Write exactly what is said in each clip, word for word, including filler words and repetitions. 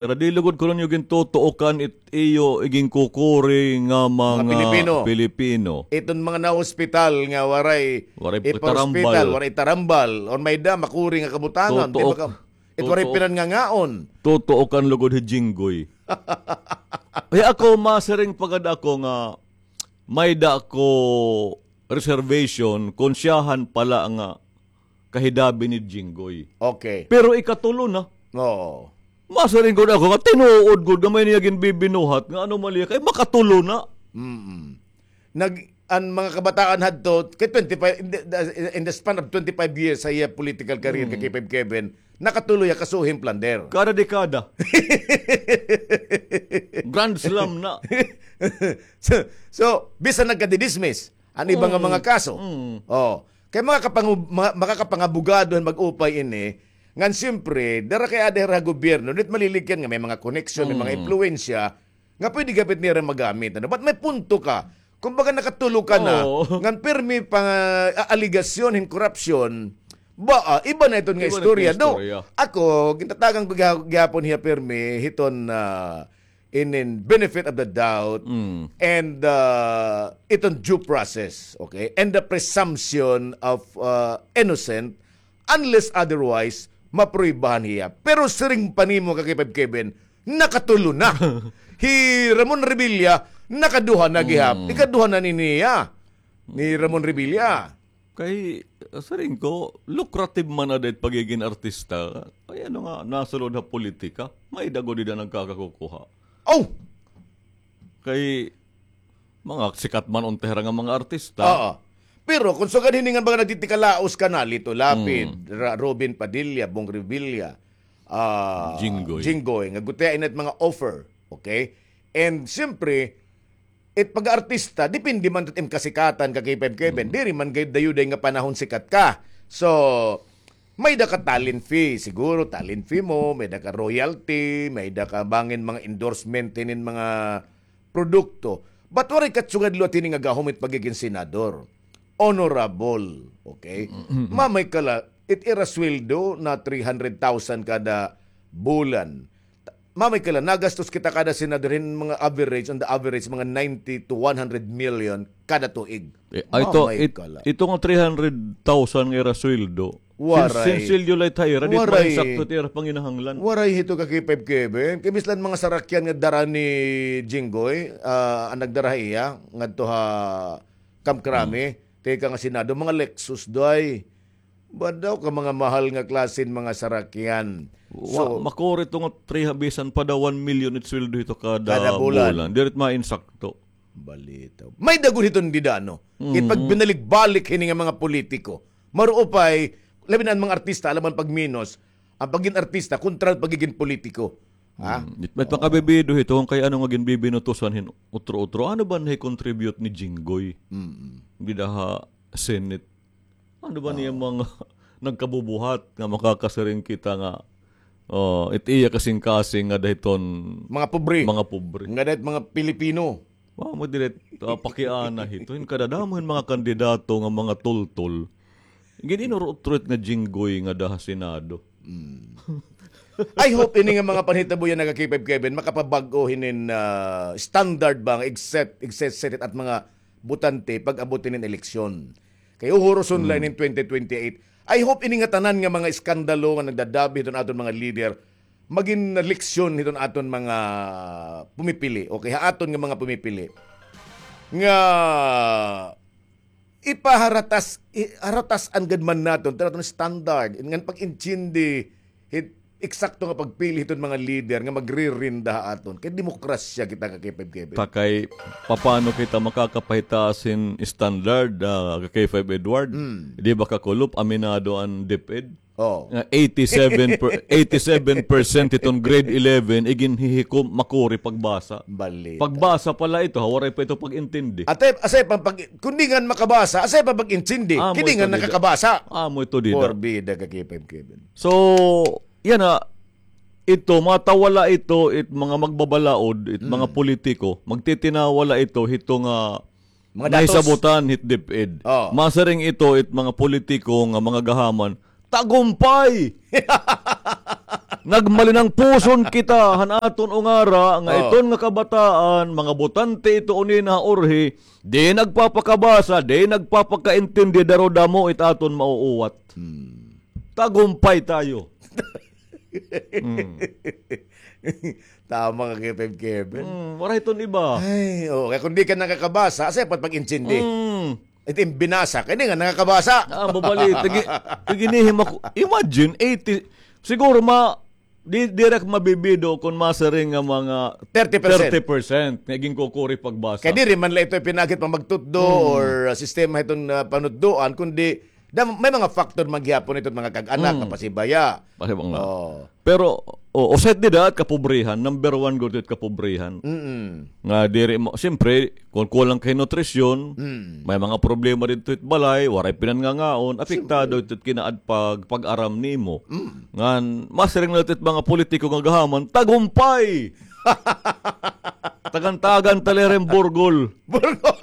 Pero di lugod kuno niyo gintutuokan it iyo iginkukuri nga mga Pilipino. Iton mga nahospital nga waray itarambal, waray itarambal, or may-ada makuri nga kabutangan, di ba ka, it waray pinanngangaon. Tutuokan lugod hi Jinggoy. Kay ako, masiring pa gad ako nga may-ada ako reservation kon siyahan pala nga kahidabi ni Jinggoy. Okay. Pero ikatulo na. Oo. Masiring gud ako nga tinuod gud nga may niya ginbibinuhat nga anomalya kay makatulo na. Mm. Nag-, an mga kabataan hadto, kay twenty-five, in the, the, in the span of twenty-five years sa iya political career, kay K five Kevin, nakatulo hiya kasuhing plunder. Kada dekada. Grand slam na. So, so, bisan nagkadidismiss an iba nga mga kaso. Oh. Kay makakapangu-, ma-, makakapangabogado hin mag-upay ini, ngan siyempre, dara kay ada hira ha gobyerno, diri maliligyan nga may mga koneksyon, may mga impluwensya, nga pwede gihapon nira magamit, ano? But may punto ka. Kumbaga, nakatulo ka na, ngan pirmi pa nga, ah, alegasyon hin korupsyon, ba, ah, iba na iton nga istorya. Though, ako, gintatagan ko giha-, gihapon hiya pirmi, hiton, ah, in, in benefit of the doubt, and, ah, iton due process, okay? And the presumption of, ah, innocent, unless otherwise, mapruwebahan hiya. Pero siring pa nimo ka K five Kevin, nakatulo na. Hi Ramon Revilla, nakaduha na gihap. Ikaduha na ni niya, ni Ramon Revilla. Kay, siring ko, lucrative man na it pagigin artista. Kay ano nga, nasulod ha politika, may-ada gud dida nagkakakukuha. Oh! Kay, mga sikat man unta hira nga mga artista. Oo. Pero kon sugad hini nga mga nagtitikalaos ka na, Lito Lapid, Ra-, Robin Padilla, Bong Revilla, ah, Jinggoy. Jinggoy, nga gutiay na it mga offer, okay? And siyempre, it pag-artista, depende man it im kasikatan ka K five Kevin. Diri man gayud dayuday nga panahon sikat ka. So, may-ada ka talent fee, siguro talent fee mo, may-ada ka royalty, may-ada ka bangin mga endorsement hinin mga produkto. But waray katsugad liwat hini nga gahom it pagigin senador. Honorable, okay? Mamay ka la, it ira sweldo na three hundred thousand kada bulan. Mamay ka la, nagastos kita kada senador hin mga average, on the average, mga ninety to one hundred million kada tuig. Eh, ay, ito, Mamay it-, ka la. Ito nga three hundred thousand nga ira sweldo, Waray. Sin-, sinsilyo la it ha ira, di it mainsakto it ira panginahanglan. Waray hito ka K five Kevin. Kay bisan mga sarakyan nga dara ni Jinggoy, ah, an nagdara ha iya, ngadto ha Camp Crame, tikang ha Senado, mga Lexus, day. Badaw ka mga mahal nga klase hin mga sarakyan. So, makuri ito nga three, bisan pa daw one million it sweldo hito kada bulan. Kada bulan. Diri it mainsakto. Balitaw. May-ada gud hiton dida, no? It pagbinalik-balik hini nga mga politiko. Maruupay, labi na an mga artista, alangan pagminos, an pagin artista kontra pagigin politiko. Ha? Mm. It, it makabibido hito, kay ano nga ginbibinutusan hin utro-utro. Ano ba nahi-contribute ni Jinggoy? Mm. Dida ha Senate. Ano ba niya mga nagkabubuhat nga makakasiring kita nga, oh, it iya kasingkasing nga dahiton mga pobre. Mga pobre. Nga dahit mga Pilipino. Wa mo diri, ah, pakiana hito. Hin kadadamo hin mga kandidato nga mga tultol. Gin-inurutro it nga Jinggoy nga daha Senado. Mm. I hope ini nga mga panhitabo yana nga K five Kevin, makapabag-o hinin, ah, standard ba nga igset, igset, set it at mga botante pag-abot hinin eleksyon. Kay uhuruson la inin twenty twenty-eight. I hope ini nga tanan nga mga iskandalo nga nagdadabi hiton aton mga lider, magin leksyon hiton aton mga pumipili. Okay, ha aton nga mga pumipili. Nga ipaharatas, i-, haratas-an gad man naton, tan aton standard, ngan pag-intindi, hit, eksakto nga pagpili hiton mga lider nga magririnda ha aton. Kay demokrasya kita ka K five Kevin. Ta kay, papano kita makakapahitaas hin standard, ah, ka K five Edward? Mm. Di ba kakulop, aminado an DepEd? Oh. Nga eighty-seven per, eighty-seven percent hiton grade eleven, iginhihikom, makuri pagbasa. Balita. Pagbasa pa la ito, ha, waray pa ito pag-intindi. Ate, asay pa pag, kon di ngan makabasa, asay pa pag-intindi. Amo ito dida. Kay di ngan nakakabasa. Amo ito dida. Porbida ka K five Kevin. So, yana, ito, matawala ito, it mga magbabalaod, it mga politiko, magtitinawala ito, hito nga mga datos. Nahisabotan hit DepEd. Oh. Masiring ito, it mga politiko nga mga gahaman, Tagumpay! Nagmalinangpuson kita han aton ungara nga Oo. iton nga kabataan, mga botante ito unina ha urhi, di nagpapakabasa, di nagpapakaintindi, darodamo it aton mauuwat. Hmm. Tagumpay tayo. Hmm. Tama ka, Kevin, Kevin. Hmm, waray iton iba. Ay, oo, kay kun di ka nakakabasa, asya pa it pag-intindi. Hmm. It im binasa, kay di nga nakakabasa. Ah, mabali. Tigi-, tiginihim ako. Imagine, eighty, siguro ma-, di, diri ak mabibido kun masiring nga mga Thirty percent. thirty percent nga ginkukuri pagbasa. Kay diri man la ito ipinagit pa magtutdo Hmm. or, uh, sistema hiton, uh, panutdoan, kundi da-, may mga factor man gihapon ito, mga kag-anak, Hmm. nga pasibaya. Pasibaya nga. Oo. Pero, o, usa it dida it kapobrihan, number one gud it kapobrihan. Mm-mm. Nga diri mo, siyempre, kun kulang kay nutrisyon, Mm. may mga problema didto it balay, waray pinanngangaon, apektado Siyempre. ito it kinaad pag, pag-aram nimo. Mm. Ngan, masiring na ito it mga politiko nga gahaman, tagumpay! Tagan-tagan ta la hira hin burgol. Burgol!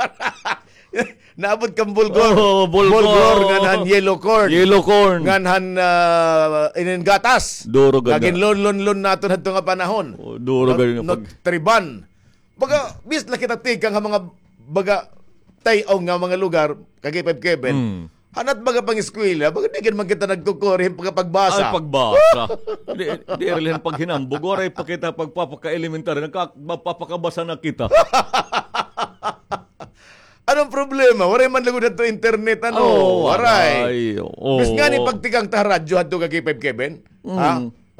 Naabot kan bulgor. Oh, bulgor. Bulgor, ngan han yellow corn. Yellow corn. Ngan han, ah, inin gatas. Duro gad. Nga ginlonlonlon naton hadto nga panahon. Oh, duro gad. Nut-, Nutriban. Baga, bis la kita tikang ha mga baga tay-aw nga mga lugar, Ka-K five Kevin. Hmm. Hanat baga pang-eskwela, baga di gid man kita nagkukuri hin pagpagbasa. Ay, pagbasa. Di, di rin paghinambog. Waray pa kita pagpapaka-elementary, nagka-, magpapakabasa na kita. Anong problema? Waray man lugod hadto internet, ano? Oh, waray. Waray. Oh. Bis ngani pagtikang ta ha radyo hadto, Ka-K five Kevin? Mm. Ha?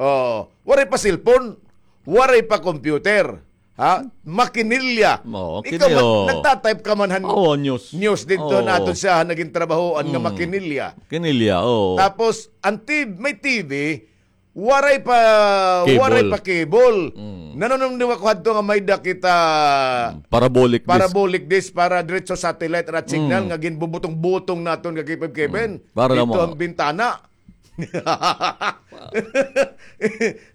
Oh, waray pa cellphone, waray pa computer. Ha? Makinilya. Oo, ikaw, kinilya, ma-, oo. Nagta-type ka man han Oo, news. News didto Oo. na aton siya, naging trabahoan nga Mm. makinilya. Kinilya, oo. Tapos, ang T V, may T V, waray pa, Cable. waray pa cable. Mm. Nanunumdum ako hadto nga may-ada kita Mm, parabolic dish. Parabolic dish para diretso satellite rat signal Mm. nga ginbubutong-butong naton, Ka-K five Kevin. Mm. Para lang didto mga ang bintana.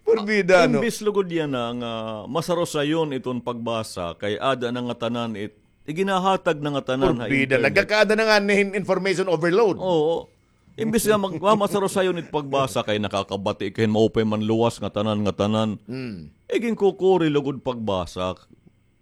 Porbida, no? Imbis lugod yana nga masarusayon iton pagbasa, kay ada na ngatanan it, iginahatag na ngatanan ha Porbida, internet. Nagkakaada na ngani hin information overload. Oo. Imbis nga mag-, mamasarusayon it pagbasa, kay nakakabati ka hin maupay man luwas ngatanan, ngatanan. Mm. Iginkukuri lugod pagbasa.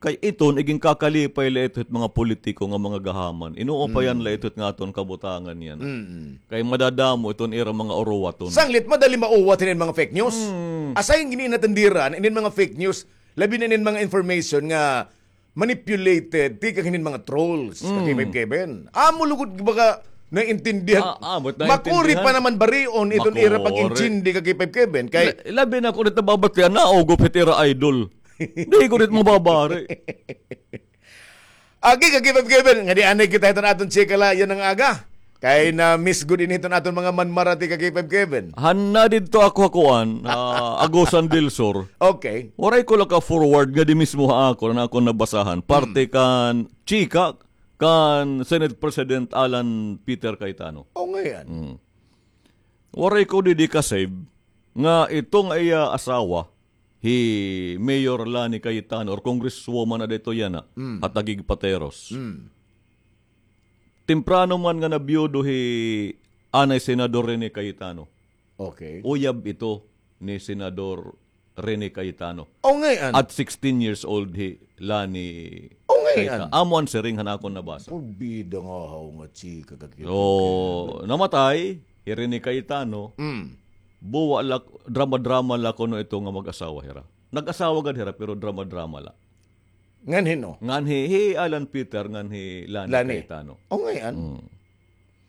Kay iton, iginkakalipay la ito hit mga politiko nga mga gahaman. Inuupayan la ito hit nga aton kabutangan yana. Mm. Kay madadamo iton ira mga uruwaton. Sanglit, madali mauwat hinin mga fake news. Mm. Asay gin-inatindiran, inin mga fake news, labi na inin mga information nga manipulated, tikang hinin mga trolls, Mm. Ka-K five Kevin. Amo lugod baga naiintindihan. Ah, ah, but Makuri naiintindihan. pa naman barion iton ira Makuri. pag-intindi, Ka-K five Kevin. Kay La-, labi na kun ito babatian, naugop hit ira idol. Di ko rin mababari. Agi, Ka-K five Kevin, ngadi anay kita hiton aton chika la yana nga aga. Kay na-miss gud ini hiton aton mga manmarati, Ka-K five Kevin. Han na didto ako ha kuan, ah, Agusan del Sur. Okay. Waray ko la ka-forward ngadi mismo ha akon, an akon nabasahan. Parte Hmm. kan chika kan Senate President Alan Peter Cayetano. O, ngay-an. Hmm. Waray ko didi ka-save nga ito nga iya asawa, hi Mayor Lani Cayetano or Congresswoman na dito yana, Mm. ha Taguig Pateros. Mm. Temprano man nga nabiyudo hi anay Senador Rene Cayetano. Okay. Uyab ito ni Senador Rene Cayetano. O, ngay-an. At sixteen years old hi Lani O, ngay-an. Cayetano. Amo an siring han akon nabasa. Porbida nga haw nga chika, Ka-K five Kevin. So, namatay hi Rene Cayetano. Mm. Buwa la, drama-drama la kuno ito nga mag-asawa hira. Nag-asawa gad hira, pero drama-drama la. Ngan hin-o? Ngan hi, hi Alan Peter, ngan hi Lani Lani. Cayetano. O, ngay-an. Mm.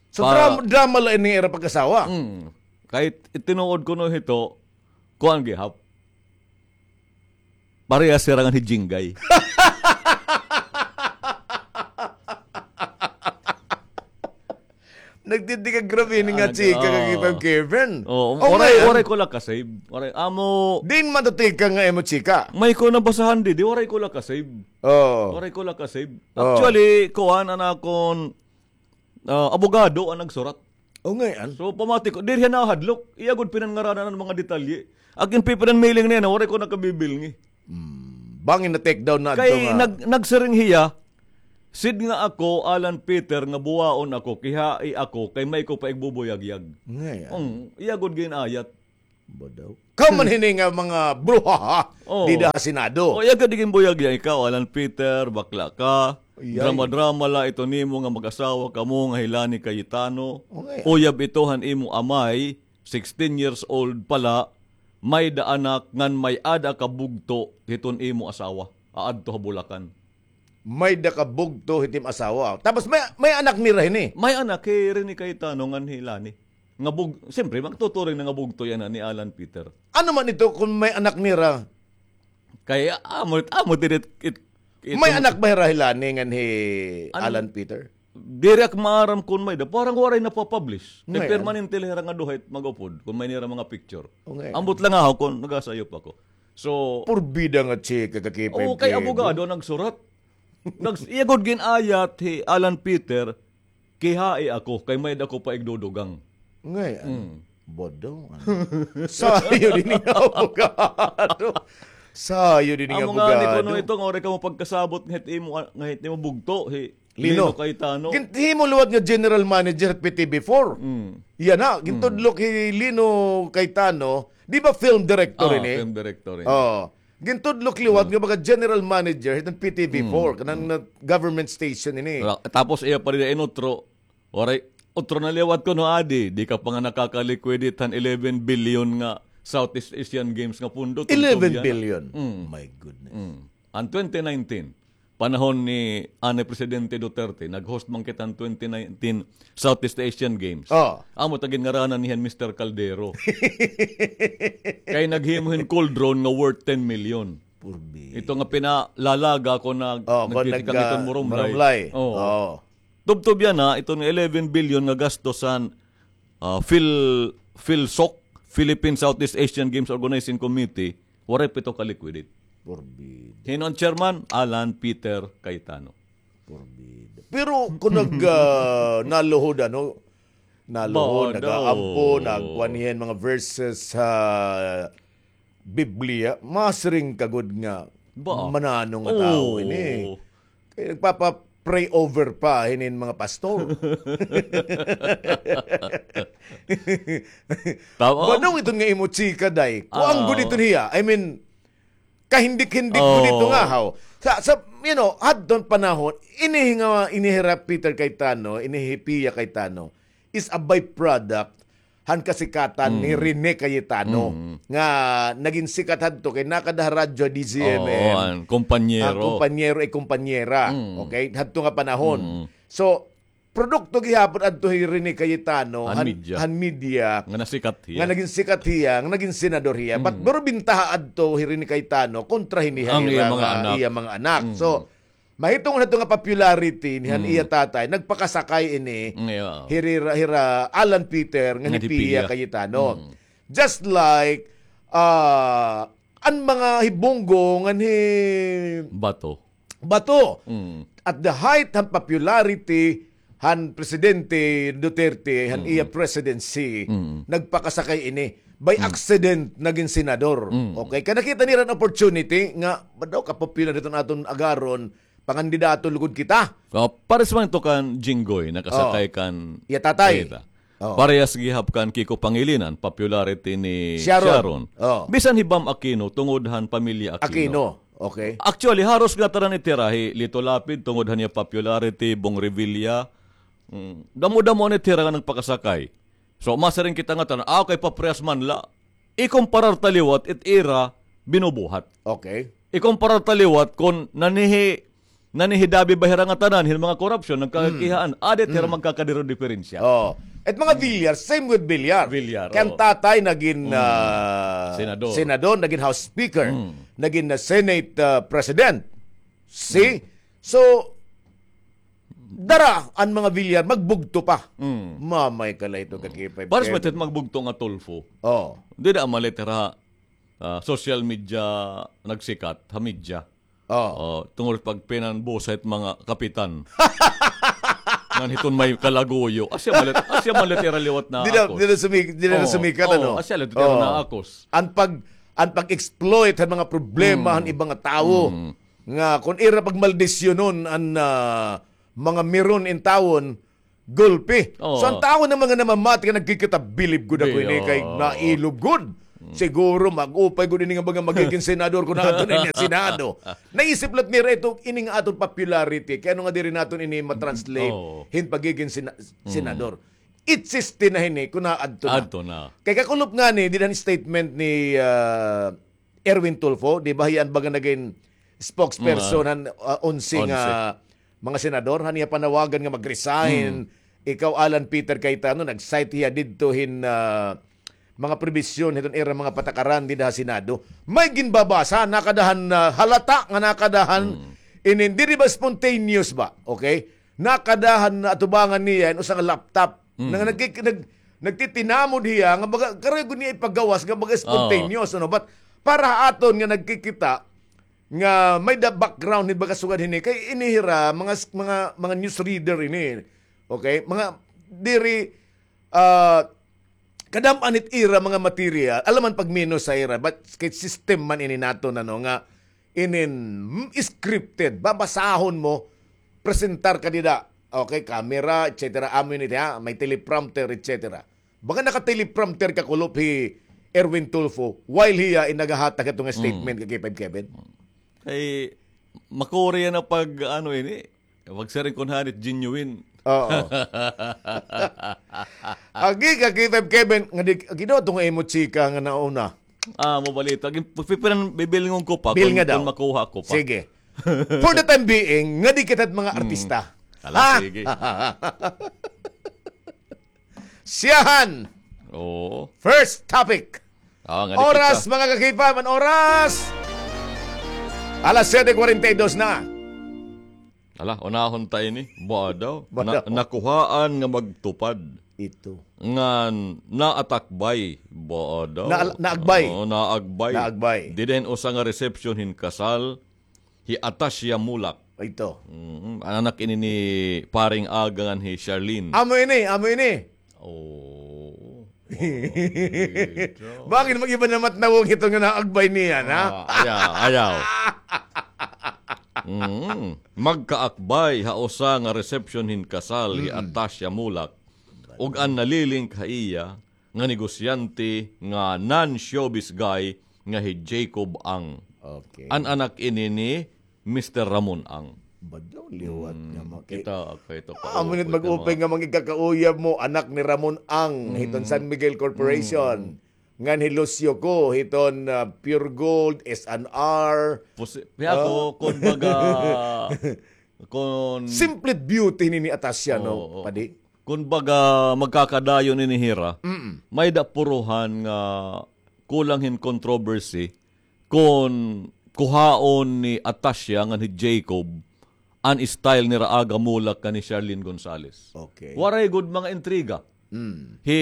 So, Pa- drama, drama la ini ira pag-asawa? Mm. Kay it tinuod kuno hito, kuan gihap. Parehas hira ngan hi Jingay. Nagtindi ka grabe ini nga chika, Ka-K five Kevin. Oo, waray, waray ko la ka-save. Waray, amo. Diin man to tikang nga imo chika? May ko nabasahan didi, waray ko la ka-save. Oo. Waray ko la ka-save. Oo. Actually, kuan, an akon, ah, abogado an nagsurat. O, ngay-an. So, pamati ko, diri hiya nahadlok. Iya gud pinanngaranan an mga detalye. Ak in pipinan mailing niya na, waray ko nakabibilngi. Hmm. Bangin na-take down na adto nga. Kay nag-, nagsiring hiya, Sid nga ako, Alan Peter, nga buwaon ako, kihai ako, kay may ko pa igbubuyagyag. Ngay-an. Ong, iya gud gin-ayat. Ba daw? Kaw man hini nga mga bruhaha, oh, dida ha Senado. O, iya ka di ginbuyagyag ikaw, Alan Peter, bakla ka. Iyay. Drama-drama la ito nimo nga mag-asawa kamo nga hi Lani Cayetano. Okay. Uyab ito han imo amay, sixteen years old pa la, may-da anak ngan may-ada ka bugto hiton imo asawa. Aadto ha Bulacan. May-da ka bugto hit im asawa. Tapos may, may anak nira hini. May anak hi Rene Cayetano ngan hi Lani. Nga bug-, siyempre, magtuturing na nga bugto yana ni Alan Peter. Ano man ito kung may anak nira? Kay, amo, amo diri it, it, May anak ba hira hi Lani ngan hi Alan Peter? Diri ak maaram kun may-da. Parang waray napapublish. Kay permanente la hira nga duha it mag-upod kun may nira mga picture. Ambot la nga ako kun nagasayop ako. So, purbida nga chika, kakipay. Oo, kay abogado nagsurat. Nags-, iya gud gin-ayat hi Alan Peter, kihai ako, kay may-da ko pa igdudugang. Ngay-an. Mm. Bodo, ano? Sayo dini nga abogado. Sayo dini nga abogado. Amo ngani kuno ito, nga waray kamo pagkasabot nga hit imo, nga hit imo bugto, hi Lino Cayetano. Ginhimo liwat nga general manager hit P T V four. Mm. Yana, gintudlok hi Lino Cayetano, di ba film director ini? Ah, film director ini. Oo. Gintudlok liwat nga baga general manager hiton P T V four, kanang na government station ini. Tapos iya pa dida inutro, waray, utro na liwat kuno adi, di ka pa nga nakaka-liquidate han eleven billion nga Southeast Asian Games nga pondo. Eleven billion? Mm. My goodness. Mm. An twenty nineteen, panahon ni anay Presidente Duterte, nag-host man kita han twenty nineteen Southeast Asian Games. Oh. Amo ta ginngaranan niya hin Mister Caldero. Kay naghimo hin cool drone nga worth ten million. Purbi. Ito nga pinalalaga ko nag-, oh, nagtitikang iton murumlay. Murumlay. Oh. Oh. Tubtob yana, iton eleven billion nga gastos han, ah, Phil-, PHISSOC, Philippine Southeast Asian Games Organizing Committee, waray pa ito ka-liquidate. Forbid. Hin-o an chairman? Alan Peter Cayetano. Forbid. Pero kun nag, ah, naluhod, ano, naluhod, nag-aampo, nagkuan hiya hin mga verses ha Biblia, masiring ka gud nga mananong nga tawo ini. Kay nagpapa-pray over pa hinin mga pastor. Tama. Manong iton nga imo chika, day. Kuan gud iton hiya. I mean, kahindik-hindik gud ito nga, haw. Sa, sa, you know, hadton panahon, ini nga, ini hira Peter Cayetano, ini hi Pia Cayetano, is a byproduct han kasikatan ni Rene Cayetano, nga nagin sikat hadto kay nakada ha radyo D Z M M. Oo, an kompanyero. An kompanyero ay kompanyera. Okay? Hadto nga panahon. So, produkto gihapon adto hi Rene Cayetano, han, han media. Nga nasikat hiya. Nga nagin sikat hiya, nga nagin senador hiya. But pero bintaha adto hi Rene Cayetano kontra hini han iya mga anak. So, mahitungod hadto nga popularity ni han iya tatay, nagpakasakay ini hira, hira Alan Peter ngan hi Pia Cayetano. Just like, ah, an mga hibunggo ngan hi Bato. Bato. At the height han popularity han Presidente Duterte, han iya presidency, nagpakasakay ini. By accident, nagin senador. Okay? Kay nakita nira an opportunity nga, ba daw kapopular iton aton agaron, pangandidato lugod kita. Oh, pares man ito kan Jinggoy, nakasakay kan iya tatay. Parehas gihap kan Kiko Pangilinan, popularity ni Sharon. Bisan hi Bam Aquino, tungod han pamilya Aquino. Aquino, okay. Actually, haros ngatanan iti hira, hi Lito Lapid, tungod han iya popularity, Bong Revilla. Mm, damo-damo an iti hira nga nagpakasakay. So, masiring kita ngatanan, ah, okay, paparehas man la. Ikomparar ta liwat it ira binubuhat. Okay. Ikomparar ta liwat kon nanihi-, nanihidabi ba hira ngatanan hin mga korupsyon, nagkakihaan, adi it hira magkakadiri diferensya. Oh. It mga Villar, same with Villar. Villar, kay an tatay nagin, ah, senador, nagin House Speaker, nagin, ah, Senate, ah, President. See? So, dara an mga Villar, magbugto pa. Mm. Mamay ka la ito, kakipay. Pares man ito magbugto nga Tulfo. Oh. Dida man la ito hira, ah, social media nagsikat, ha media. Oh. Oh, tungod pagpinanbusa it mga kapitan. Ngan hiton may kalaguyo. Asya man la it, asya man la it ira liwat naakos. Dida, dida sumi-, dida sumikat, ano? Asya la it ira naakos. An pag-, an pag-exploit han mga problema han iba nga tawo. Mm. nga kon ira pagmaldisyonon an, ah, mga meron intawon, gulpi. Oo. So, an tawo nga mga namamati nga nagkikita, bilib gud ako ini kay nailog gud. Siguro mag-upay gud ini nga mga magigin senador kon aadto na ini ha Senado. Naisip la nira ito, ini nga aton popularity. Kay ano nga diri naton ini matranslate hin pagigin sena-, senador. Existe na hini kon aadto na. Kay kakulop ngani, dida han statement ni, ah, Erwin Tulfo, di ba, hiya an baga nagin spokesperson han, ah, onse nga mga senador, han iya panawagan nga mag-resign. Ikaw, Alan Peter Cayetano, nag-cite hiya didto hin, ah, mga probisyon hiton ira mga patakaran dida ha Senado. May ginbabasa, nakada han, ah, halata nga nakada han inin, diri ba spontaneous ba? Okay? Nakada han atubangan niya hin usa nga laptop. Nga nagkik-, nag-, nagtitinamod hiya nga baga, karuyag gud niya ipagawas nga baga spontaneous, ano? But para ha aton nga nagkikita nga may da background hin baga sugad hini, kay ini hira, mga, mga, mga news reader ini. Okay? Mga diri, ah, kadam-an it ira mga material, alangan pagminos ha ira, but kay system man ini naton, ano, nga inin, mm, scripted, babasahon mo, presentar ka dida, okay, camera, et cetera. Amo ini, ha, may teleprompter, et cetera. Baga naka-teleprompter kakulop hi Erwin Tulfo while hiya in nagahatag hito nga statement, ka K five Kevin. Kay makuri na pag, ano, ini, pagsiring kon hanit genuine. Oo. Agi ka, K five Kevin, nga di, agi daw ito nga imo chika nga nauna. Ah, mo balita. Agi, pipiran, bibilngon ko pa kon makuha ko pa. Sige. For the time being, nga di kita mga artista. Ala, sige. Siyahan. Oo. First topic. Ah, nga di kita. Oras, mga ka-K five, an oras. Alas siyete kwarenta y dos na. Ala, unahon ta ini. Ba daw? Ba daw? Na-, nakuhaan nga magtupad. Ito. Nga naatakbay. Ba daw? Na-, naagbay. Oo, naagbay. Naagbay. Dida hin usa nga reception hin kasal hi Atasia Mulak. Ito. Mm, an anak ini ni Paring Aga ngan hi Charlene. Amo ini, amo ini. Oh. Bakit mag-iba na matnawong ito nga naagbay niya, ha? Ah, ayaw, ayaw. Mm. Magkaakbay ha usa nga reception hin kasal hi Atasia Mulak ug an nalilink ha iya nga negosyante nga non-showbiz guy nga hi Jacob Ang. Okay. An anak ini ni Mister Ramon Ang. Badaw liwat nga maki-, kita, ako ito pa. Amo nit mag-upay nga mga ikakauyab mo, anak ni Ramon Ang, hiton San Miguel Corporation. Ngan hi Lucio ko, hiton, ah, Pure Gold, S and R. Pusi-, kaya ako, kun baga, kun simple beauty ni, ni Atasia, no, padi? Kun baga magkakadayon ini hira, may da puruhan nga kulang hin controversy kun kuhaon ni Atasia ngan hi Jacob an style nira Aga Mulak ngan ni Charlene Gonzalez. Okay. Waray gud mga intriga. Mm. Hi,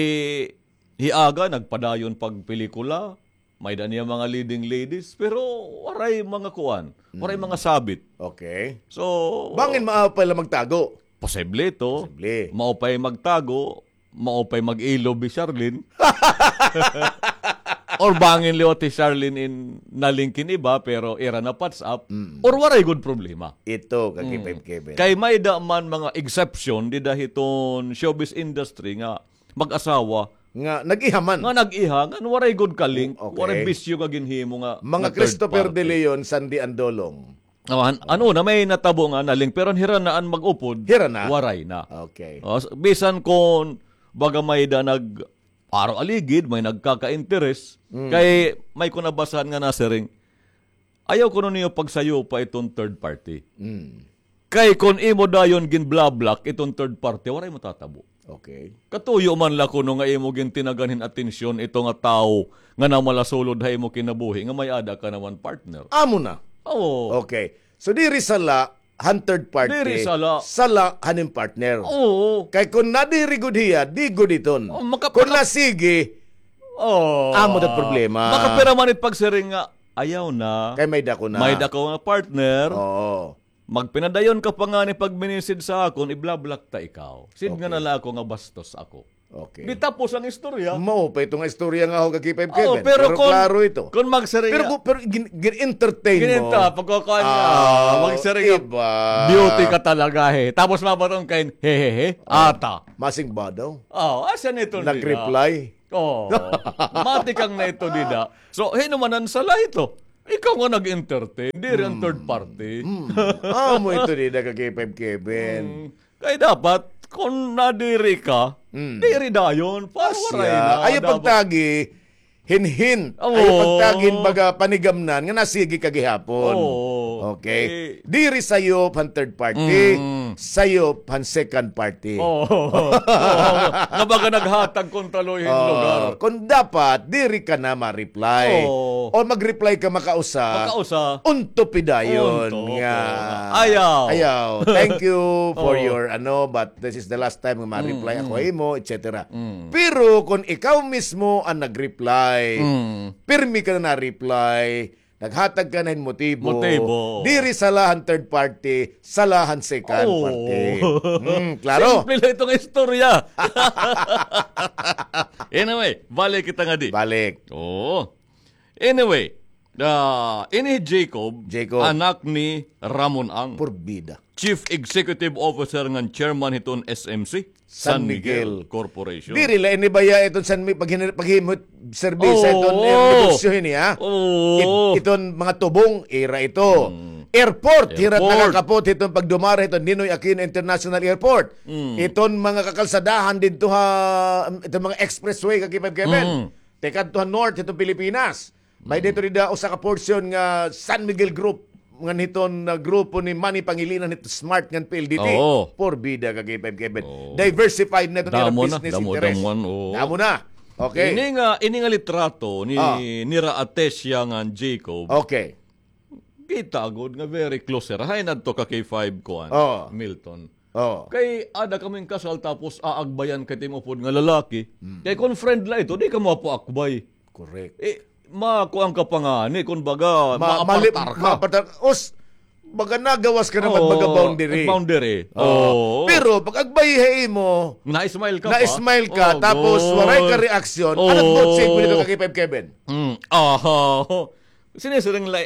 hi Aga nagpadayon pagpelikula, may da niya mga leading ladies, pero waray mga kuan, waray mga sabit. Okay. So, bangin maupay la magtago? Posible ito. Posible. Maupay magtago, maupay mag-ilob hi Charlene. Or bangin liwat hi Charlene in nalink hin iba, pero ira na patch up. Mm. Or waray gud problema. Ito, ka K five Kevin. Kay may da man mga exception, dida hiton showbiz industry nga mag-asawa. Nga nag-iha man. Nga nag-iha, nga waray gud ka-link, okay, waray bisyo nga ginhimo nga, mga nga third Christopher party. De Leon, Sandy Andolong. Oh, an-, ano na, may natabo nga na-link, pero an hira na an mag-upod, hira na. Waray na. Okay. Oh, s-, bisan kon baga may da nag-aro aligid, may nagkaka-interes, mm, kay may ko nabasahan nga nasiring, ayaw kuno niyo pagsayupa iton third party. Mm. Kay kon imo dayon ginblablock iton third party, waray matatabo. Okay. Katuyo man la kuno nga imo gintinagan hin atensyon ito nga tawo nga namalasulod ha imo kinabuhi nga may-ada ka naman partner. Amo na. Oo. Okay. So, diri sala han third party. Diri sala. Sala han im partner. Oo. Kay kon nadiri gud hiya, di gud iton. Oh, maka-, kon maka-, nasigi, oh, amo ta problema. Makapira man it pagsiring nga, ayaw na. Kay may-ada ko na. May-ada ko nga partner. Oo. Magpinadayon ka pa ngani pagminised sa akon, iblablock ta ikaw. Sidngan na la ako nga bastos ako. Okay. Di tapos an istorya. Mao pa ito nga istorya nga ako ka K five Kevin. Pero kon, klaro ito. Kon magsiring pero, pero gin-, gin-entertain mo. Ginenta, pagkakuan niya, magsiring nga, iba. Beauty ka talaga, he. Tapos mabatong kain, hehehe, ata. Masing ba daw? Oh, asa nito nila? Nag-reply? Oh, matikang na ito, dida. So, hinumanan sala ito. Ikaw nga nag-entertain, diri an third party. Amo ito, dida, ka K five Kevin. Kay dapat, kon nadiri ka, diri dayon. Para waray na. Ayaw pagtagi hin-hint. Ayaw pagtagi hin baga panigamnan nga nasigi ka gihapon. Okay? Diri sayop han third party, sayop han second party. Nga baga naghatag kontra luoy hin lugar. Kon dapat, diri ka na ma-reply. O mag-reply ka makausa. Makausa. Unto pidayon nga. Ayaw. Ayaw. Thank you for your ano, but this is the last time nga ma-reply ako ha imo, et cetera. Pero kon ikaw mismo an nag-reply, pirmi ka na na-reply, naghatag ka na hin motibo, diri sala han third party, sala han second party. Klaro. Simple la ito nga istorya. Anyway, balik kita ngadi. Balik. Oo. Anyway, ah, ini Jacob, anak ni Ramon Ang. Purbida. Chief Executive Officer ngan Chairman hiton S M C, San Miguel Corporation. Diri la ini baya iton San Mi-, paghin-, paghimo hit serbisyo iton negosyo hini, ha? Iton mga tubong, ira ito. Airport, hira it nakakapot hiton pagdumara hiton Ninoy Aquino International Airport. Iton mga kakalsadahan didto ha, iton mga expressway, ka K five Kevin. Tikadto ha north hiton Pilipinas. May dito rida usa ka portion nga San Miguel Group, ngan hiton, ah, grupo ni Manny Pangilinan hit Smart ngan P L D T. Purbida ka K five Kevin. Diversified na ito nila business interest. Damo na. Okay. Ini nga, ini nga litrato ni, nira Atesia ngan Jacob. Okay. Kita gud nga very close sira. Hain adto ka K five kuan, Milton. Kay ada kamo hin kasal tapos aagbayan ka it imo upod nga lalaki. Kay kon friend la ito, di kamo apo akbay. Correct. Eh, makuan ka pa ngani, kon baga, maapartar ka. Maapartar ka. Us, baga nagawas ka na magbaga boundary. Boundary. Oo. Pero pag agbay ha imo, na-smile ka pa. Na-smile ka, tapos waray ka reaksyon. Ano po, sige, dito ka K five Kevin? Aha. Sinisiring la,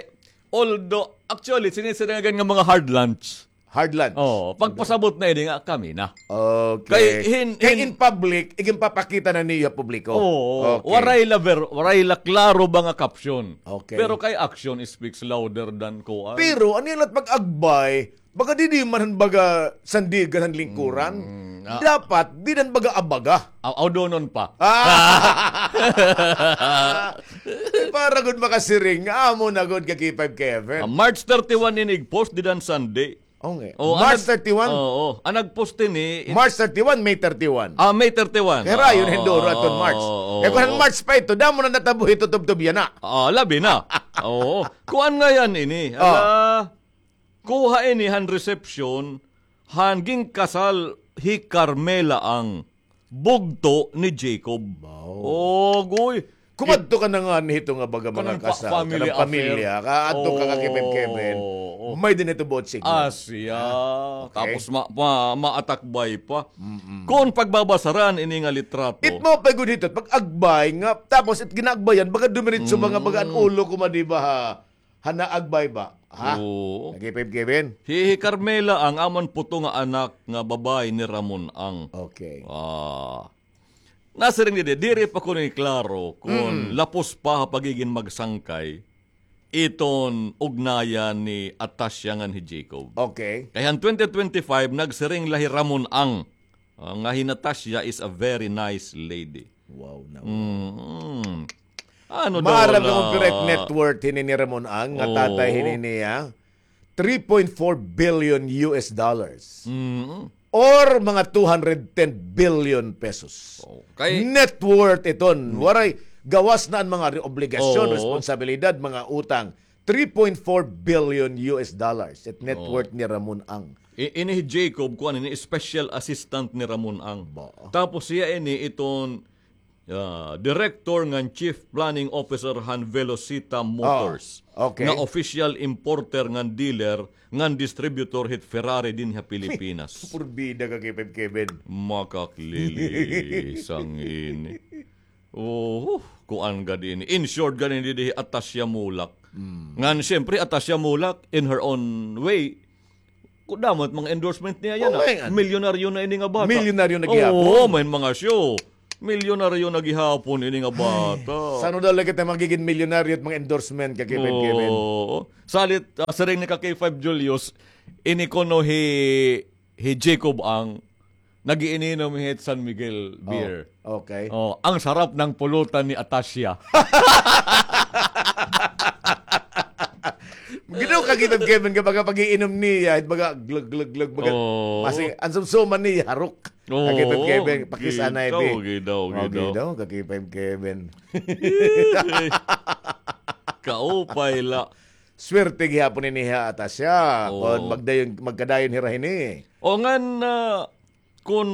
although, actually, sinisiring nga mga hard lunch. Hard lunch. Oo, pagpasabot na ini nga kami na. Okay. Kay hin-, kay hin- in public, iginpapakita na niyo publiko. Oo, okay. Waray la ver-, waray la klaro ba nga caption. Okay. Pero kay action speaks louder than kuan. Pero ano yan at pag-agbay, baga di, di man han baga sandigan han lingkuran. Mm, ah. Dapat, di han baga abaga. Aw, aw, donon pa. Ah! Para gud makasiring, amo na gud ka K five Kevin. Ah, March thirty-one ini ig-post, di han Sunday. Okay. Oh, March thirty-one? Oo. An nag-post ini, it- March thirty-one, May thirty-one. Ah, May thirty-one. Kay rayon hin duro aton March. Oo, oo. Kay kun han March pa ito, damo na natabo hito tubtob yana. Ah, labi na. Oo. Kuan nga yan ini. Ah. Ala, kuha ini han reception, han ginkasal hi Carmela Ang bugto ni Jacob. Wow. Ogoy. Kumadto ka na ngani hito nga baga mga kasal, kanang pamilya, kaadto ka ka Kevin Kevin. Oo. May din ito buot signal. Asya. Okay. Tapos ma-, ma-, maatakbay pa. Mm-mm. Kon pagbabasaran ini nga litrato. It mo pa gud hito, pag-agbay nga, tapos it ginaagbayan, baga dumiritso mga baga an ulo ko madiba ha. Hana agbay ba? Ha? Oo. Nag-ipib Kevin? Hi, hi Carmela Ang amon puto nga anak nga babaye ni Ramon Ang. Okay. Ah. Nasiring didi, diri pa kuno iklaro kon lapos pa ha pagigin magsangkay iton ugnayan ni Atasya ngan hi Jacob. Okay. Kay han twenty twenty-five, nagsiring la hi Ramon Ang, ah, nga hi Natasha is a very nice lady. Wow na. Mm. Ano daw la? Maaram ka kon pira it net worth hini ni Ramon Ang, nga tatay hini niya? Three point four billion U S dollars. Mm. Or mga two hundred ten billion pesos. Okay. Net worth iton. Waray, gawas na an mga re-, obligasyon, responsibilidad, mga utang. Three point four billion U S dollars it net worth ni Ramon Ang. I-, ini hi Jacob, kuan ini, special assistant ni Ramon Ang. Ba? Tapos hiya ini iton Ah, director ngan chief planning officer han Velocita Motors. Oh, okay. Nga official importer ngan dealer ngan distributor hit Ferrari dinhi ha Pilipinas. Purbida ka, K five Kevin. Makaklili, sangin. Oh, kuan gad ini. Insured gad ini dinhi hi Atasya Mulak. Hmm. Ngan, siyempre, Atasya Mulak, in her own way, Ku-, damo it mga endorsement niya yana. Oo, nga. Milyonaryo na ini nga bata. Milyonaryo na gihapon. Oo, may mga show. Milyonaryo na gihapon ini nga bata. San-o daw la kita magigin milyonaryo it mga endorsement ka K five Kevin? Oo. Salit, ah, siring ni ka K five Julius, ini kuno hi, hi Jacob Ang nag-iininom hit San Miguel beer. Oh, okay. Oh, ang sarap ng pulutan ni Atasya. Ginaw ka, K five Kevin, nga baga pag-iinom niya, baga glug, glug, glug, baga, oo, masing, an sumsuman niya, harok. Oo, ka K five Kevin, pakisanay, gidaw, bi. Gidaw, oh, gidaw, gidaw, ka K five Kevin. Kaupay la. Swerte gihapon ini ha Atasya. Oo. Kon magdayon, magkadayon hira hini. O ngan, ah, Kon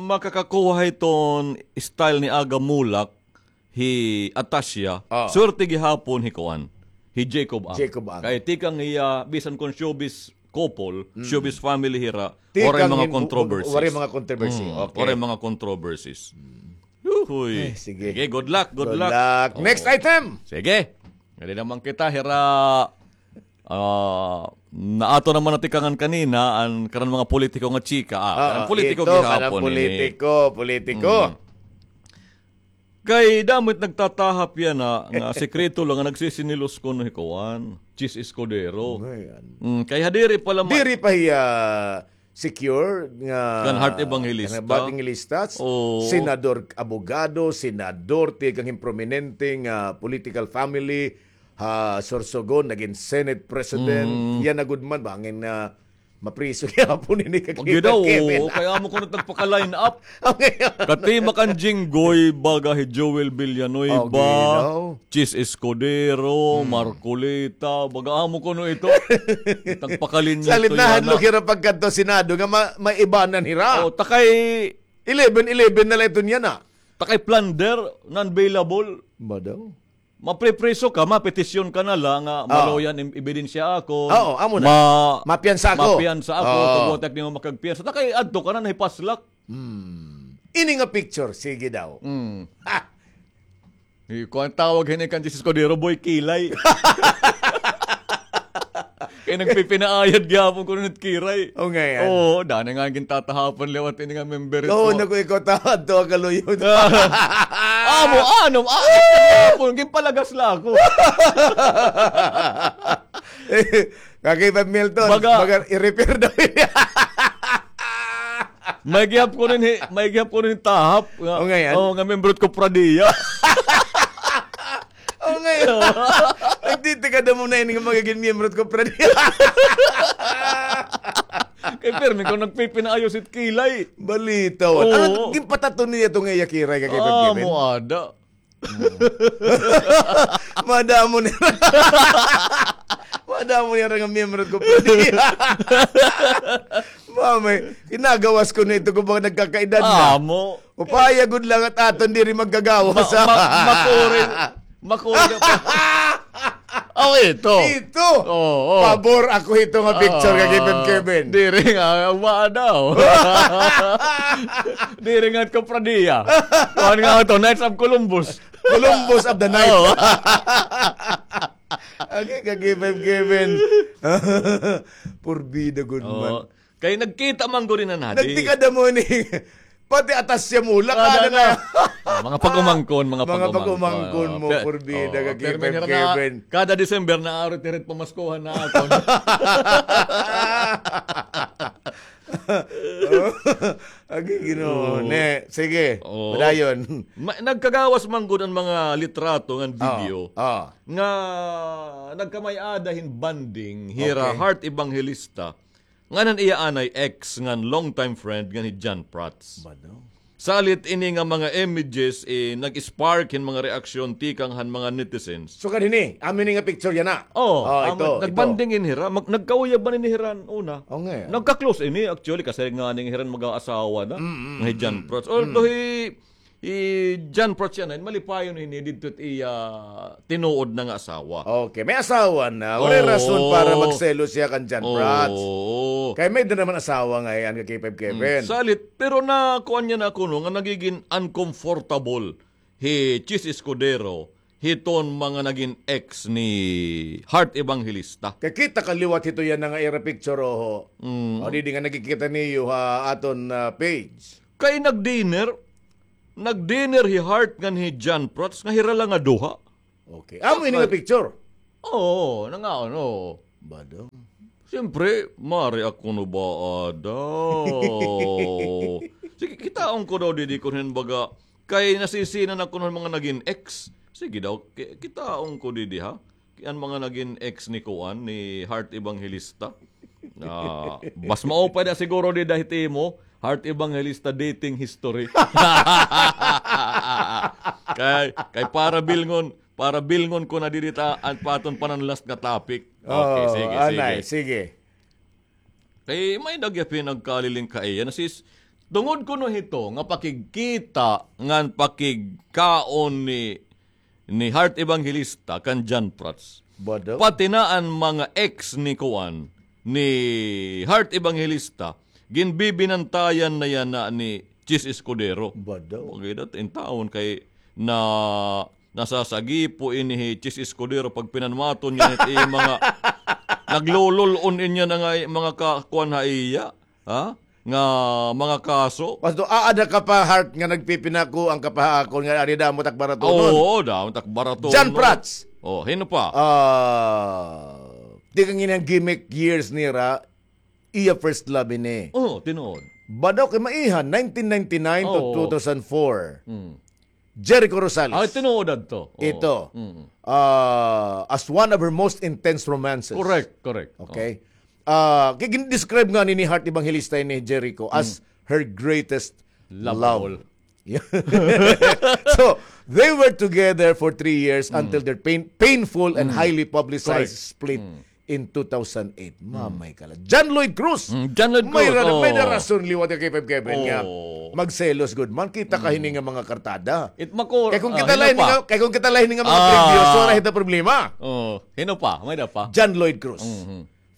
makakakuha hiton style ni Aga Mulak, hi Atasya, ah, swerte gihapon hi kuan, hi Jacob Ang. Jacob Ang. Kay tikang hiya, bisan kon showbiz couple, mm, showbiz family hira, tikang waray mga hin-, controversies. Waray mga controversy. Mm, okay. Waray mga controversies. Mm. Uy. Ay, sige. Sige, good luck, good luck. Good luck. Oo. Next item. Sige. Ngadi naman kita, hira, Ah, naato naman na tikangan kanina, an kanan mga politiko nga chika. Ah, ah, kanan politiko ito, kanan gihapon ini. Politiko, politiko. Mm. Kay damo it nagtatahap yana nga, nga sikreto la nga nagsisinilos kuno hi kuan, Chiz Escudero. Ayan. Mm, kay ha diri pa la ma- Diri pa hiya secure nga kan Heart Evangelista. Kan Heart Evangelistas, oo. Senador, abogado, senador, tikang hin prominente nga political family ha Sorsogon, nagin Senate President. Mm. Yana gud man, bangin nga mapriso gihapon ini ka Kevin. Kay amo kuno it nagpaka-line up. Okay. Katimakan Jinggoy, baga hi Joel Villanueva. Oh, ginaw. Chiz Escudero, mm, Marcoleta, baga amo kuno ito. Nagpakalinya ito yana. Salit nahadlok hira pagkadto Senado nga ma-, maibanan hira. O, ta kay eleven eleven na la ito niyan, ah. Ta kay plunder, non-bailable. Ba daw? Mapripriso ka, mapetisyon ka na la nga, ah, maluoy an im-, ebidensya ako. Oo, amo na. Ma-, mapiyansa ako. Mapiyansa ako, oo, tugot ak nimo makagpiyansa. Ta kay adto ka na, nahipaslak. Hmm. Ini nga picture, sige daw. Hmm. Ha! Hi, kuan tawag hini kan Chiz Escudero, boy, kilay. Kay nagpipinaayad gihapon kuno it kilay. O, ngay-an. Oo, dani nga gintatahapan liwat ini nga member ito. Oo, naku, ikaw ta-, adto ka luyo. Amo, ano, ah, gihapon, ginpalagas la ako. Kaki pa Milton, baga, baga i-repair daw. May gihap ko rin hi-, may gihap ko rin tahap nga, o, ngay-an, o, nga membro it Kofradiya. O, ngay-an. Nagtitikada mo na ini nga magigin miyembro it Kofradiya. Kay pirmi ko nagpipinaayos it kilay. Balitaw. Oo. Ano, ginpatato niya ito nga iya kilay, kay Kevin? Ah, mo ada. Madamo niya. Madamo niya nga miyembro ko, pwede. Mamay, kinagawas ko na ito kung baka nagkakaedad na. Amo. Upaya gud lang at aton diri magkagawas. Ma-, ma-, makuri. Makuri. Oh, ito. Ito. Oo, oo. Pabor ako ito nga picture kay Kevin, Kevin. Diri nga, wa daw. Diri nga Kofradiya. Kuan nga ito, Knights of Columbus. Columbus of the Night. Oo. Agi ka, Kevin, Kevin. Purbida gud man. Oo. Kay nagkita man gud na nadi. Nagtikada mo ni. Pati atas siya mulak, ah, ano na. Ah, mga pag-umangkon, mga pag-umangkon. Mga pag-umangkon mo, purbida ka, Kevin, Kevin. Kada December, naarit-irit pamaskuhan na ako. Agi, Ginoo. Oo. Ne, sige. Oo. Padayon. Ma-, nagkagawas man gud an mga litrato ngan video nga nagkamay-ada hin bonding hira Heart Evangelista ngan an iya anay ex ngan long time friend ngan hi John Prats. Salit ini nga mga images, eh, nag-spark hin mga reaksyon tikang han mga netizens. Sukad hini, amo ini nga picture yana. Oh, amo, ito, nagbanding ini hira, mag-, nagkauyab man ini hira una. Oh, nga. Nagka-close ini, actually, kasi nga ning hira mag-aasawa na. Mm, mm, nga hi John Prats. Although hi, Hi John Prats yana, malipayon hini didto it iya tinuod na nga asawa. Okay, may asawa na. Waray rason para magselos hiya kan John Prats. Oo. Kay may da naman asawa ngay-an ka K five Kevin. Salit, pero nakuan niya na kuno nga nagigin uncomfortable hi Chiz Escudero hiton mga nagin ex ni Heart Evangelista. Kay kita ka liwat hito yana nga ira picture, oho. Mm. O, didi nga nakikita niyo ha aton, ah, page. Kay nag-dinner, nag-dinner hi Heart ngan hi John Prats nga hira la nga duha. Okay. Amo ini nga picture? Oo, nangaon, oo. Bado. Siyempre, mari ako no ba, ada. Sige, kitaon ko daw didi kun hin baga, kay nasisinan ako ng mga naging ex. Sige daw, ki-, kitaon ko didi, ha? Ki-, an mga naging ex ni kuan, ni Heart Evangelista. Ah, mas maupay na siguro dida hit imo, Heart Evangelista dating history. Kay, kay para bilngon, para bilngon ko na didi ta, an paton panan last nga topic. Okay, sige, sige. Kay may da gihap hin nagkaliling kaiya na sis, tungod kuno hito nga pakigkita ngan pakigkaon ni, ni Heart Evangelista kan John Prats. Bado. Pati na an mga ex ni kuan, ni Heart Evangelista, ginbibinantayan na yana ni Chiz Escudero. Bado. Pagkita, intawon kay na Nasasagipo ini hi Chiz Escudero pagpinanmaton niya it iya mga naglulul-on inya na nga mga ka-, kuan ha iya, ha? Nga mga kaso. Pasto, aada ka pa, Heart, nga nagpipinako an kapahaakon nga ari damo tak baratonon. Oo, damo tak baratonon. John Prats. Oh, hino pa? Ah, di ka nginang gimmick years nira, iya first love ini. Oo, tinuod. Bado kay maiha, nineteen ninety-nine to two thousand four. Mm. Jericho Rosales. Ah, tinuod adto. Oo. Ito. Mm. Ah, as one of her most intense romances. Correct, correct. Okay. Ah, kay gin-describe nga ni, ni Heart Evangelista ni Jericho as her greatest love. Love of all. Yeah. So, they were together for three years until their pain-, painful and highly publicized split in two thousand eight. Mamay ka la. John Lloyd Cruz. Mm, John Lloyd Cruz, may ra-, may da rason liwat ka K five Kevin nga magselos gud man. Kita ka hini nga mga kartada. It mako-, kay kung kita la hini nga, kay kung kita la hini nga mga previous, wala hita problema. Oh, hino pa? May da pa? John Lloyd Cruz.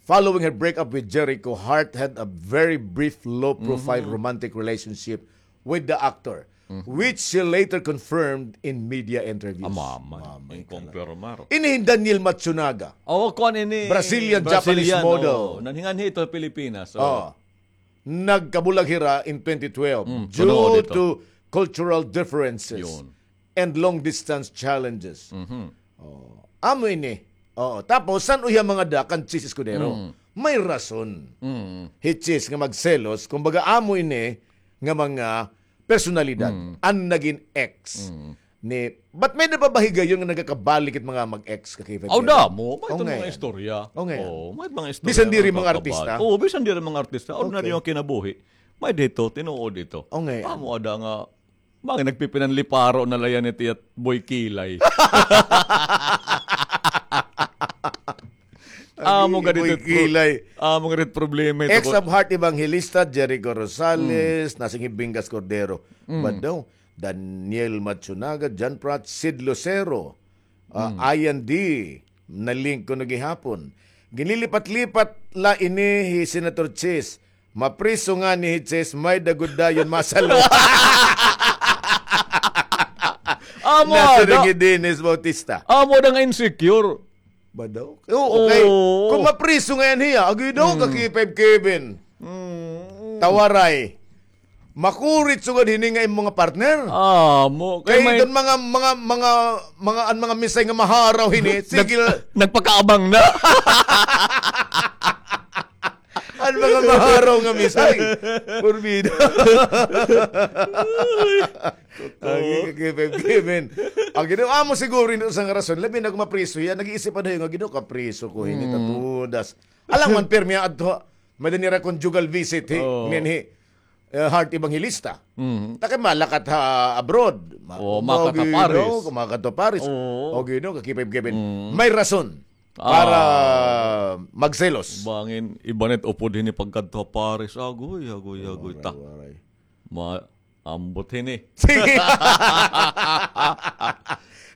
Following her breakup with Jericho, Heart had a very brief low-profile romantic relationship with the actor, which she later confirmed in media interviews. Ah, mamay. Mamay ka la. Ini hin Daniel Matsunaga. Oh, kuan ini. Brazilian, Japanese model. Oh. Nanhinganhi ito Pilipinas. Oh. Nagkabulag hira in twenty twelve due to cultural differences and long-distance challenges. Oh. Amo ini. Oo. Tapos, san-o hiya mangada kan Chiz Escudero? May rason. Hi Chiz nga magselos, kumbaga amo ini nga mga personalidad, an nagin ex ni, but may da pa ba higayon nga nagakabalik it mga mag-ex ka K five Kevin? Aw, damo. May mga istorya. Oo, may mga istorya. Bisan diri mga artista? Oo, bisan diri mga artista. Ordinaryo nga kinabuhi. May dito, tinuod dito. Amo ada nga Mga nagpipinanliparo na la yan iti at Boy Kilay. Amo gani it pro-, amo gani it problema ito. Ex of Heart Evangelista, Jericho Rosales, Nasing Hibingas Cordero. Bado, Daniel Matsunaga, John Prats, Sid Lucero, ah, Ian D. Na-link ko na gihapon. Ginlilipat-lipat la ini hi Senator Chiz. Mapriso ngani hi Chiz, may da gud dayon masalwa. Amo ada. Nasiring hi Dennis Bautista. Amo ada nga insecure. Ba daw? Oo, okay. Kung mapriso ngay-an hiya, agoy daw ka K five Kevin. Tawaray. Makurit sugad hini nga imo nga partner. Amo. Kay may mga, mga, mga, mga, an mga misay nga maharaw hini, sige la. Nagpakaabang na. An mga maharaw nga misay. Porbida. Agi ka K five Kevin. Agi daw, amo siguro ini usa nga rason. Labi na kung mapriso hiya, nag-iisip pa daw nga, "Ginoo, kapriso ko hini ta tudas." Alangan pirmi adto. May da nira conjugal visit hi, nin hi, eh, Heart Evangelista. Ta kay malakat ha abroad. Ma-, o, malakat ha Paris. Malakat ha Paris. Oo. O, Ginoo, ka K five Kevin. May rason para magselos. Bangin, iba na it upod hini pagkadto ha Paris. Agoy, agoy, agoy, ta. Ma-, Ambot hini. Sige.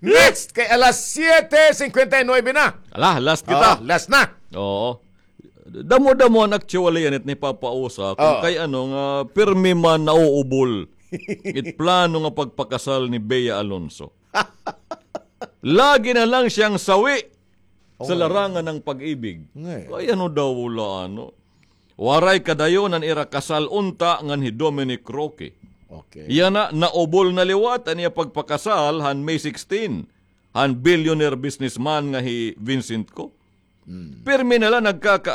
Next, kay alas siyete singkwenta y nuwebe na. Ala, last kita. Oh, last na. Oo. Damo-damo an actually, anit ni Papa Usa, kung kay ano nga, pirmi man nauubol it plano nga pagpakasal ni Bea Alonso. Lagi na lang siyang sawi sa larangan ng pag-ibig. Ngay. Kay ano daw wala, ano? Waray kadayon an ira kasal unta ngan hi Dominic Roque. Okay. Yana, naubol na liwat an iya pagpakasal han May sixteen, han billionaire businessman nga hi Vincent Co. Pirmi na la nagkaka